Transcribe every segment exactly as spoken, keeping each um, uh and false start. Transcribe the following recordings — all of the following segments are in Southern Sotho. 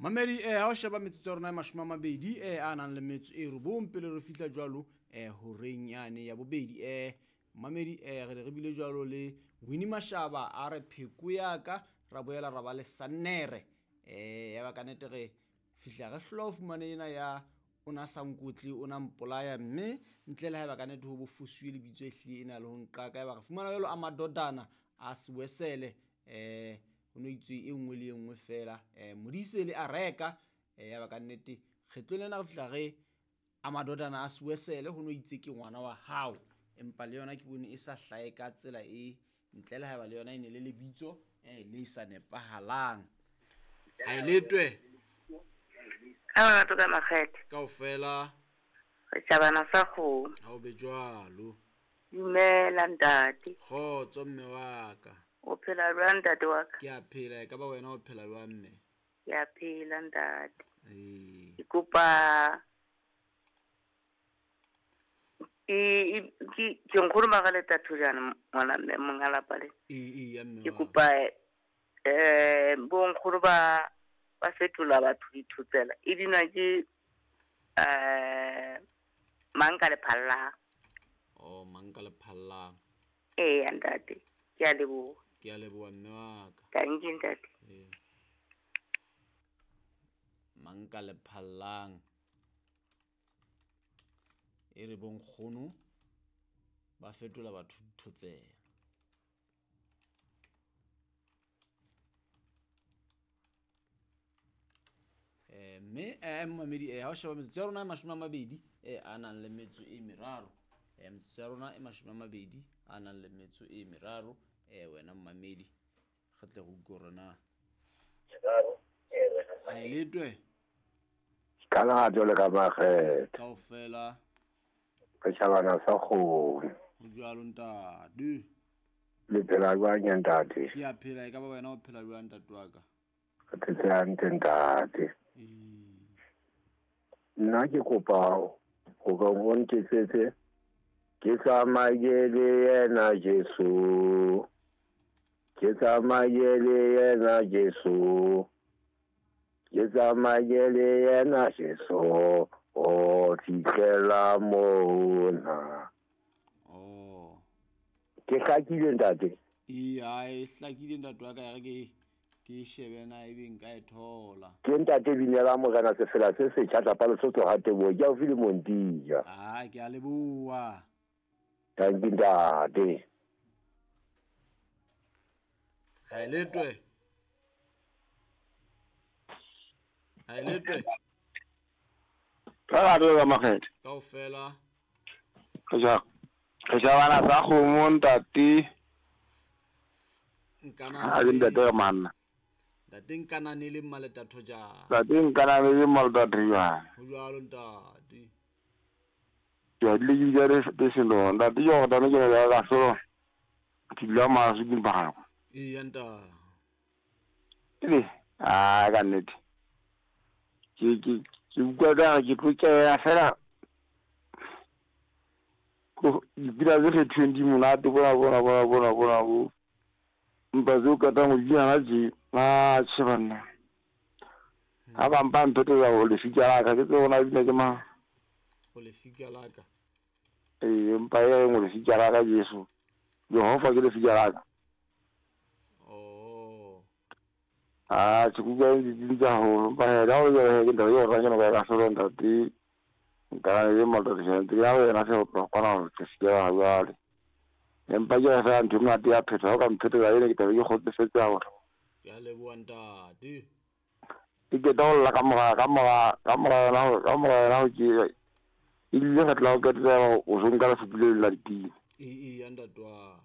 Mamedi eh ha o sheba metsotso ya rona e mashome a mabedi eh a nang le metso e robong pele re fihla jwalo eh horeng yane ya bobedi. Eh mamedi eh re ne re bile jwalo le Winnie Mashaba a re pheko ya ka, ra boela ra ba le Sannere. Eh ya ba ka nnete re fihla re hlola ho fumana ena ya o na sa nkotle o na mpolaya, mme ntle le haeba ka nnete ho bo fosuwe lebitso e hlile e na le ho nqaka. Ya ba re fumana jwalo a madodana a Sewesele eh ho no itswe e nngwe le e nngwe fela eh Modise le a reka. Eh ya ba ka nnete kgetlong lena re fihla re a madodana a Sewesele ho no itse ke ngwana wa hao, empa le yona ke bone e sa hlahe ka tsela e ntle le haeba le yona e ne le lebitso eh le sa nepahalang. Ha e letwe ka batho ka makgethe kaofela re tjabana sa kgomo. Ha o be jwalo. Dumela ntate. Kgotso mme wa ka. O phela jwang ntate wa ka? Ke a phela, e ka ba wena o phela jwang mme? Ke a phela ntate. Ee. Ke kopa e ke ke nkgono Magaleta Thojana ngwana mme monga lapa le. Ee, ee, ya mme Ke wa. kopa eh bo nkgono ba ba fetola batho dithotsela e binwa ke eh mang ka lephallang. Oh, mang ka lephallang. Ee ntate, ke a leboha. Ke a leboha mme wa ka. Thank you ntate. Ee. Mang ka lephallang e re bonkgono ba fetola batho dithotsela. Eh mme eh mamedi eh ha o sheba metsotso ya rona e mashome a mabedi eh a nang le metso e meraro. Eh metsotso ya rona e mashome a mabedi a nang le metso e meraro. Eh wena mmamedi re tle re utlwe hore na ha e letwe ka lerato le ka makgethe kaofela re tjhabana sa kgomo. Ho jwalo ntate. Le phela jwang ya ntate? Ke a phela, e ka ba wena o phela jwang ntate wa ka? Re phetse hantle ntate. Ee. Nna ke kopa hore o ntetsetse ke tsamaye le yena Jesu, ke tsamaye le yena Jesu, ke tsamaye le yena Jesu o fihlela mona. Oh. Ke hlakile ntate? Ee, ha e hlakile ntate wa ka, ya re ke ke shebe na ebe nka e thola. Ke ntate binela morena sefela se setjha tlapa Lesotho ha Teboho, ke haufi le Montija. Ah, ke a leboha. Thank you ntate. Ha e letwe. Ha e letwe. Ka lerato ka makgethe kaofela. Re ja re tjhabana sa kgomo ntate. Nkana Ha ke ntate re manna. Ntate nkanane le Mmaleta Thojana. Ntate nkanane le Mmaleta Thojana. Ho jwalo ntate. Ke a dile ke bitsa le selo ntate ke gore tane ke ne ka solo ke dula maso ke mpagako. Ee ntate. Ebe a ka nnete ke ke ke utlwa ka re ke tlo kena fela ko dipina tse kgethilweng di monate bona bona bona bona bona bo mpa tseo qetang ho bina tje a tjhe banna. Ha ba mpa mphetela ho lefika la ka ke tsebe hore na bina ke mang. Ho lefika la ka. Ee, empa e reng ho lefika la ka Jesu. Jehova ke lefika la ka. Oh. Ah, ke utlwa di dintse haholo. Empa he, ha o le jwalo he, ke ntho eo re kena ka solo ntate. Nka le Mmaleta Thojana ya wena se o tlo kgona hore ke se ke ha jwale. Empa ke fela ntho e monate ya phetho, ha o ka mphetela ene ke tlabe ke kgotsofetse haholo. Ke a leboha ntate. Ke qeta ho lla ka mora ka mora ka mora yona ho ka mora yona ho ke e ile re tla o qetela o so nka lefupi le la dipina. Ee, ee, ya ntate wa.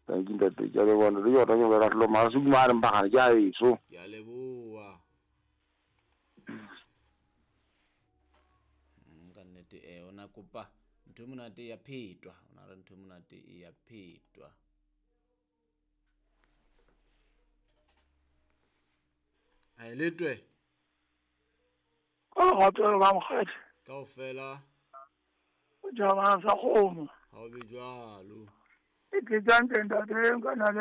Thank you ntate, ke a leboha ntate, ke rata ke ka hloma mara se mane mpagane ke a eso. Ke a leboha. Ka nnete eh ona kopa ntho e monate ya phetwa, ona re ntho e monate e ya phetwa. Ha e letwe. Ka lerato le ka makgethe kaofela. O tjhabana sa kgomo. Ha o be jwalo. E ke tsa ntate nka na le